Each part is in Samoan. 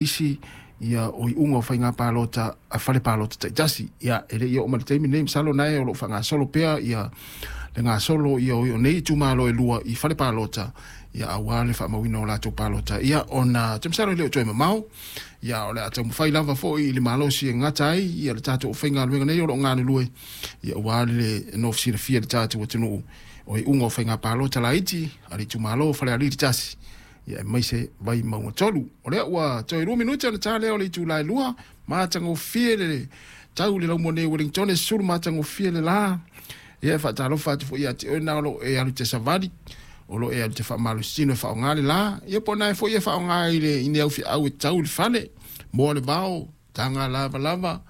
Isi ia o iuga o faiga palota a fale palota taitasi. Ia e le i oo mai le taimi lenei, masalo na e o lo o faagasolo pea ia le gasolo ia o nei itumalo e lua i fale palota, ia aua le faamauina o latou palota. Ia ona ou te masalo e le o toe mamao, ia o le a taumafai lava foi i le malosi e gata ai ia le tatou aufaigaluega nei o lo o galulue, ia aua le nofo silafia e le tatou atunuu o iuga o faiga palota laiti a le itumalo o Falealili 1 ia aemaise Vaimauga 3. O lea ua toe 2 minute ona ta lea o le itula e 2, matagofie le tau i le laumua nei o Wellington, e sulu matagofie le la. Ia e faatalofa atu foi ia te oe na o lo o e alu te savali, o lo o e alu te faamalositino e faaaoga le la, ia po o na e foi e faaaoga i le i ni aufiau e tau i le fale, moa le vao, taga lavalava,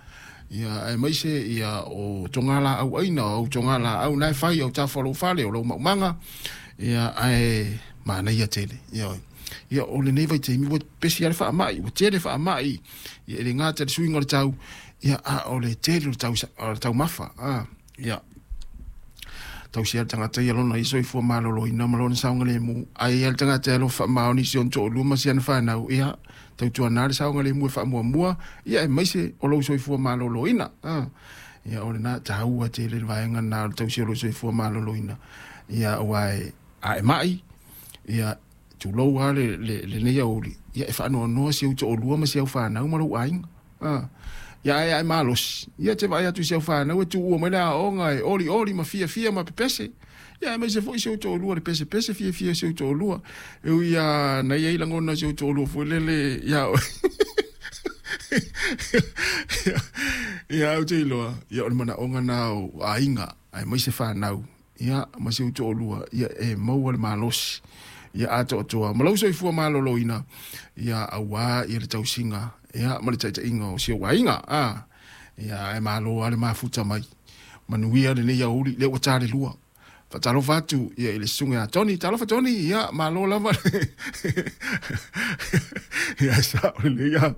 ia aemaise ia o togalaau aina, o au togalaau na e fai au tafa o lou fale, o lou maumaga, ia ae manaia tele. Ia, ia o lenei vaitaimi ua pesi lava le faamai, ua tele faamai, ia e le gata i le suiga o le tau, ia a o le tele o le tau, o le taumafa, a, ia tausia le tagata ia lona ia soifua maloloina ma lona saogalemu. Ai a le tagata e alofa faamaoni i si ona toalua ma si ana fanau, ia tautuana le saogalemu e faamuamua, ia aemaise o lou soifua maloloina. A, ia o lena taua tele le vaega lena o le tausia o lou soifua maloloina. Ia aua e a e mai, ia tulou lava le, le, lenei aoauli, ia e faanoanoa si ou toalua ma si au fanau ma lou aiga. A, ia ae a e malosi, ia e te vaai atu i si au fanau e tuua mai le aoga e olioli ma fiafia ma pepese. Ia aemaise foi si ou toalua le pesepese fiafia o si ou toalua. E ui lava na i ai lagona o si ou toalua foi lele ia oe. Ia ou te iloa, ia o le manaoga na o aiga, aemaise fanau, ia ma si ou toalua, ia e maua le malosi ia atoatoa ma lou soifua maloloina, ia aua ia le tausiga ia ma le taitaiga o si ou aiga. A, ia ae malo lava le mafuta mai. Manuia lenei aoauli, lea ua ta le lua. Faatalofa atu ia i le susuga ia Tony. Talofa Tony, ia malo lava. Ia sao lelei lava.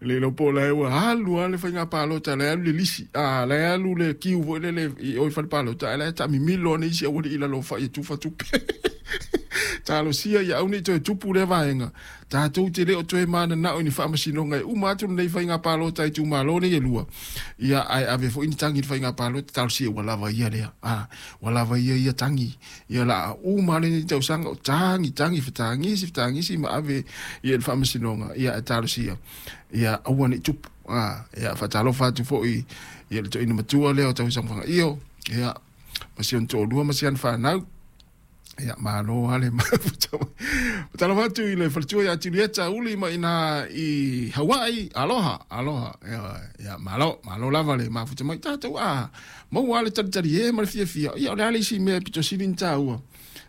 Le iloa po o la e ua alu lava le faiga palota, la e alu le lisi, a la e alu le kiu foi lele i o i fale palota, ae la e taamimilo ane isi aualii i lalo o fai e tufa tupe. Talosia ia aua ne i toe tupu lea vaega. Tatou te le o toe mananao i ni faamasinoga e uma atu lenei faiga palota i itumalo nei e lua, ia ae ave foi ni tagi i le faiga palota, talosia ua lava ia lea, a, ua lava ia ia tagi, ia la a uma lenei tausaga o tagi, tagi, fetagisi, fetagisi ma ave ia i le faamasinoga, ia ae talosia, ia aua ne i tupu, a, ia faatalofa atu foi i le toeaina matua lea o Tauisaga Fagaio, ia, ma si ona toalua ma si ana fanau. Ia, malo lava le mafuta mai. Talofa atu i le faletua ia Julieta Uli mai ina i Hawaii. Aloha, aloha. Ia, ia malo, malo lava le mafuta mai. Tatou a maua le talitali e ma le fiafia. Ia, o le a le isi mea pito sili ni tāua.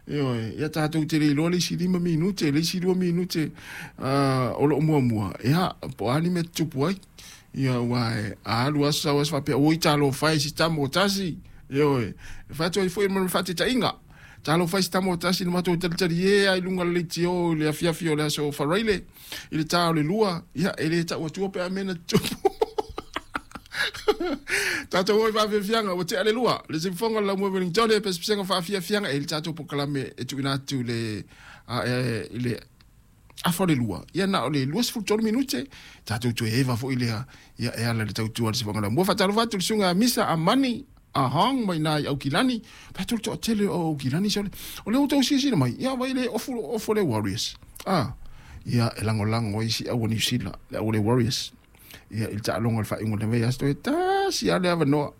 Ioe, ia tatou te le iloa le isi 5 minute, le isi 2 minute o lo o muamua. Ia, po o a ni mea tutupu ai. Ia, ua e alu aso sau aso faapea, oi talofa e si tama o tasi. Ioe, e fai atu ai foi ma le faataitaiga. Talofa e si tama o tasi na matou talitali e ai luga o le leitio i le afiafi o le aso Faraile i le ta o le 2. Ia, e le tau atua pe a mea na tutupu. Tatou o i faafiafiaga, ua tea le 2. Le siufofoga o le Laumua Wellington, pesepesega faafiafiaga e le tatou polokalame e tuuina atu le, a, e, i le afa o le 2, ia na o le 23 minute, tatou toe eva foi lea, ia e ala i le tautua a le Siufofoga Laumua. Faatalofa atu i le susuga ia Misa Amani Ahong mai ina i Aukilani, fai atu le toatele o Aukilani sole, o lea ua outou silasila mai, ia vai le ofu, ofu le Warriors. Ah, ia e lagolago ai si au a Niu Sila, le au le Warriors. Ia i le taaloga o le faaiuga o le vaiaso toe tasi lava le avanoa,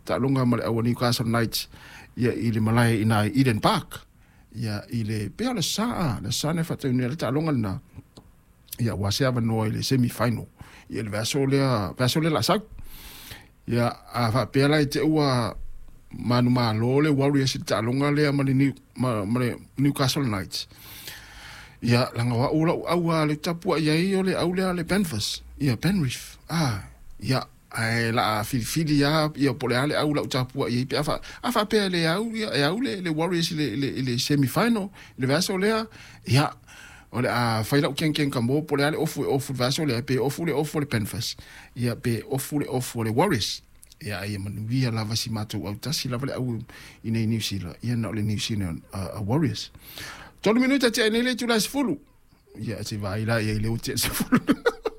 taaloga ma le au a Newcastle Knights, ia i le malae ina i Eden Park. Ia i le pea o le sa, le sa na faataunui ai le taaloga lena. Ia ua se avanoa i le semi final. Ia le vaiaso lea, vaiaso lea la sau. Ia a faapea la i te ua manumalo le Warriors i le taaloga lea ma le, New, ma, ma le Newcastle Knights. Ia laga o au lau au a le tapuai ai o le au lea le Penfus. Ia Penrith. Ah, ia Ae la a filifili lava ia po o le a le au lau tapuai ai pe a fa, a faapea e le au ia, e au le, le Warriors i le, i le, i le semi final i le vaiaso lea, ia, o le a fai lau kenkeng ka mo po o le a le ofu e ofu i le vaiaso lea, pe ofu le ofu a le Panthers, ia, pe ofu le ofu a le Warriors. Ia, a ia manuia lava si matou autasi lava le au i nei Niu Sila, ia na o le New Zealand Warriors. 3 minute tea ai nei le itula e 10. Ia, se i vaai la i ai lea ua tea le 10.